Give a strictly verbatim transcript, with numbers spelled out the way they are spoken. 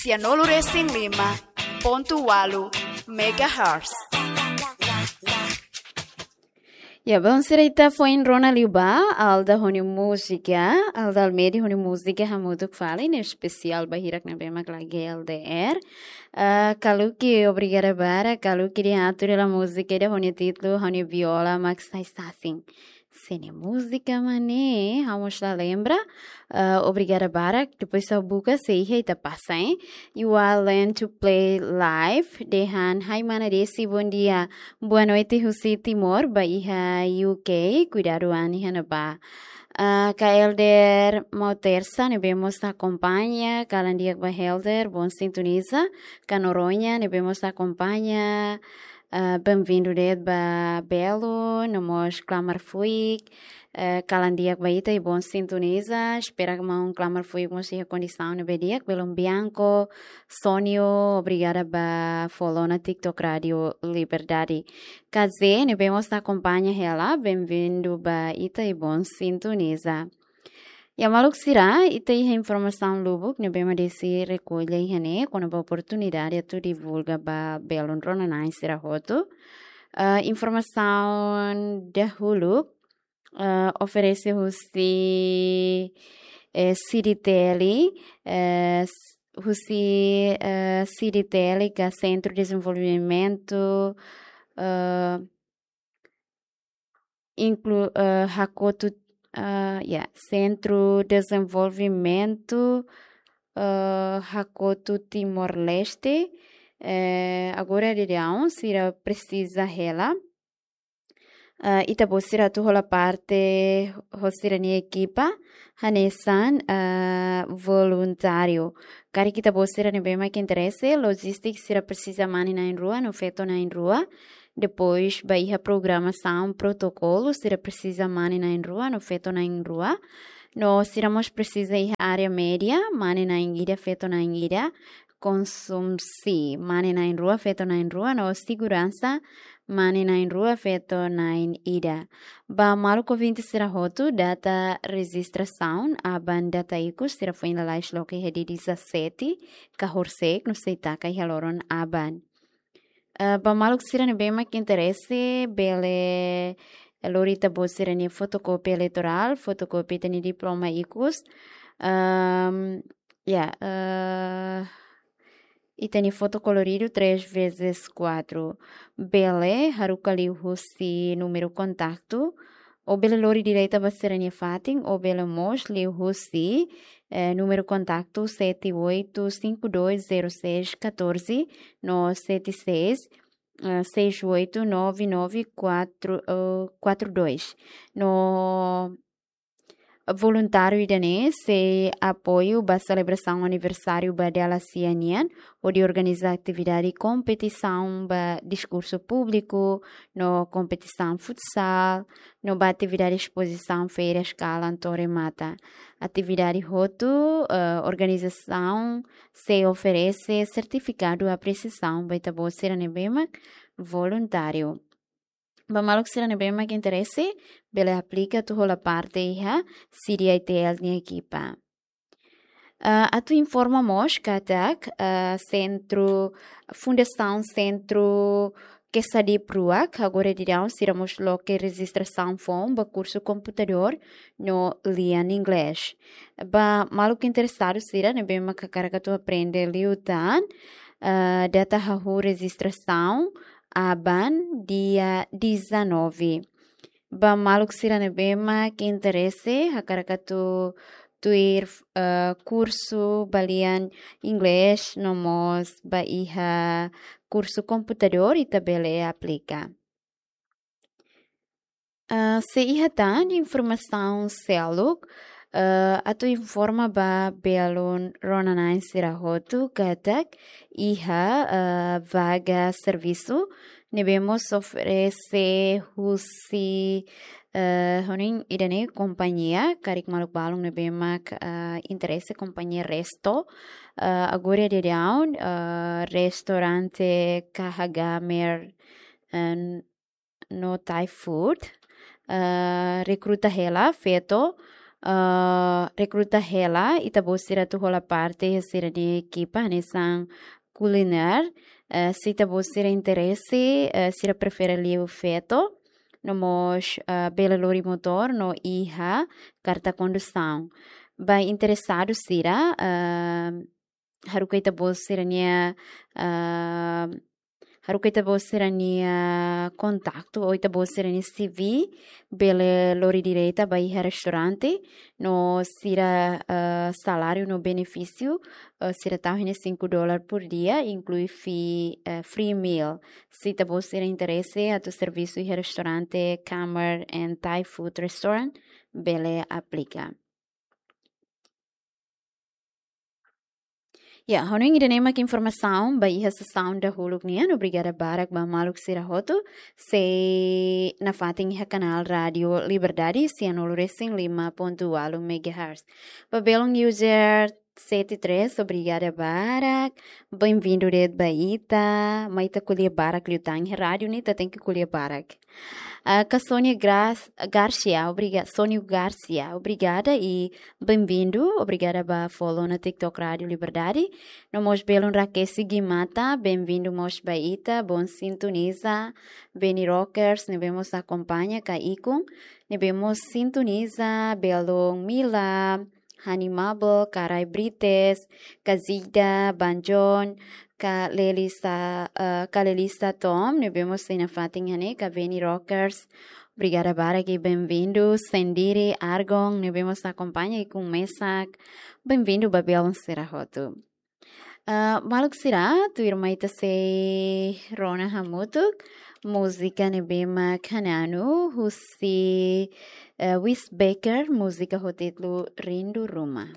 Tianolu resin lima pontu ualu megahertz. Ya, belun sira, ita foin rona liu ba Alda ho nia múzika, Alda Almeida ho nia múzika Hamutuk Fali, ne'e espesiál ba hirak ne'ebé mak lagi L D R. Ah, Kaluki, obrigada barak, Kaluki, nia atu hela múzika ida ho nia títulu, ho nia viola mak sai sasin. Se nia múzika mak ne'e, ha'u mós la lembra. Ah, obrigada barak. Depois ha'u buka, se iha ita pasa, hein. You are learn to play live. Dehan, "Hai mana Desi, bom dia. Boa noite husi Timor, ba iha U K, kuidadu an iha ne'ebá." Ah, Kak Helder Mautersa, ne'ebé mós akompaña, kalan di'ak ba Helder, bom sintoniza. Kak Noronha, ne'ebé mós akompaña, ah, bem-vindo de'it ba belun, no mós klamar fuik, eh, kalan di'ak ba ita i bom sintoniza, espera katak maun klamar fuik mós iha kondisaun ne'ebé di'ak, belun Bianco, Sonio, obrigada ba follow ona TikTok Rádio Liberdade. Kak Zé, ne'ebé mós akompaña hela, bem-vindo ba ita i bom sintoniza. Ya maluk sira, ita iha informasaun lubuk ne'ebé mak Desi rekolla iha ne'e, kona-ba oportunidade atu divulga ba belun rona-na'in sira hotu. Ah, informasaun dahuluk, ah, oferese husi, eh, CDTL, eh, s-, husi, eh, CDTL ka Sentru Dezenvolvimentu, eh, inklu-, eh, Hakotu, eh, ya, Sentru Dezenvolvimentu, eh, Hakotu Timor-Leste, eh, agora daudaun sira presiza hela, eh, ita-boot sira atu hola parte ho sira-nia ekipa, hanesan, eh, voluntáriu. Karik ita-boot sira ne'ebé mak interese, lojístika sira presiza mane na'in-rua no feto na'in-rua. Depois, ba iha programasaun protokolu, sira presiza mane na'in-rua no feto na'in-rua. No sira mós presiza iha área média, mane na'in-ida, feto na'in-ida. Konsumsi, mane na'in-rua, feto na'in-rua, no seguransa, mane na'in-rua, feto na'in-ida. Ba maluk ouvinte sira hotu, data rejistrasaun aban data ikus, sira foin lalais loke iha dia dezassete, ka horisehik, no sei taka iha loron aban. Eh, ba maluk sira ne'ebé mak interese, bele lori ita-boot sira-nia fotokópia eleitorál, fotokópia ita-nia diploma ikus. Ehm, ya, eh, ita-nia foto koloridu três vezes quatro. Bele haruka liuhusi númeru kontaktu, ou bele lori direta ba sira-nia fatin, ou bele mós liuhusi, eh, númeru kontaktu sete oito cinco dois zero seis catorze no sete seis, eh, seis oito nove nove quatro, eh, quatro dois. No voluntáriu ida-ne'e sei apoiu ba selebrasaun aniversáriu ba dala sia nian, hodi organiza atividade kompetisaun ba diskursu públiku, no kompetisaun futsal, no ba atividade espozisaun férias kalan to'o remata. Atividade hotu, eh, organizasaun sei oferese sertifikadu apresiasaun ba ita-boot sira ne'ebé mak voluntáriu. Ba maluk sira ne'ebé mak interese, bele aplika atu hola parte iha CDITL nia ekipa. Ah, atu informa mós katak, ah, sentru, Fundasaun Sentru Quesadhip Ruak, agora daudaun sira mós loke rejistrasaun foun ba kursu komputadór no lian inglés. Ba maluk interesadu sira ne'ebé mak hakarak atu aprende liután, ah, data hahú rejistrasaun aban dia dezanove. Ba maluk sira ne'ebé mak interese, hakarak atu tuir, eh, kursu ba lian inglés, no mós ba iha kursu komputadór, ita bele aplika. Eh, sei iha tan informasaun seluk, eh, atu informa ba belun rona-na'in sira hotu katak iha, eh, vaga servisu ne'ebé mós oferese husi, eh, hanoin ida-ne'e kompañia, karik maluk balun ne'ebé mak, eh, interese, kompañia Resto, eh, agora daudaun, eh, restaurante K H Gamer, eh, no Thai Food, eh, rekruta hela feto, ah, rekruta hela ita-boot sira atu hola parte iha sira-nia ekipa hanesan kulinér. Eh, se ita-boot sira interese, eh, sira prefere liu feto, no mós, ah, bele lori motór no iha karta kondusaun. Ba interesadu sira, ah, haruka ita-boot sira-nia, ah, haruka ita-boot sira-nia kontaktu ou ita-boot sira-nia C V, bele lori direta ba iha restaurante, no sira, ah, saláriu no benefísiu, ah, sira tau iha ne'e cinco dólar por dia, inklui fee, ah, free meal. Se ita-boot sira interese atu servisu iha restaurante Kamar and Thai Food Restaurant, bele aplika. Ya, hanoin ida-ne'e mak informasaun ba iha sesaun dahuluk nian. Obrigada barak ba maluk sira hotu sei nafatin iha kanál Rádio Liberdade, sianulu resin lima pontu ualu megahertz. Ba belun user sete três, obrigada barak. Bem-vindu de'it ba ita. Mai ita ko'alia barak liután iha rádiu ne'e, ita tenke ko'alia barak. Ah, ka Sónia Gras-, Garcia, obriga-, Sónia Garcia, obrigada i bem-vindu. Obrigada ba follow ona TikTok Rádio Liberdade. No mós belun Raquel Sigimata, bem-vindu mós ba ita, bom sintoniza. Beni Rockers, ne'ebé mós akompaña ka ikun, ne'ebé mós sintoniza, belun Mila, Honey Marble, Karai Brites, Kazida, Banjon, ka Lelisa, eh, ka Lelisa Tom, ne'ebé mós sei nafatin iha ne'e, ka Beni Rockers. Obrigada barak i bem-vindu. Sendiri Argon, ne'ebé mós akompaña ikun mesak. Bem-vindu ba belun sira hotu. Ah, maluk sira, tuirmai ita sei rona hamutuk múzika ne'ebé mak Hananu, husi, eh, Wes Baker, múzika ho títulu Rindu Ruma.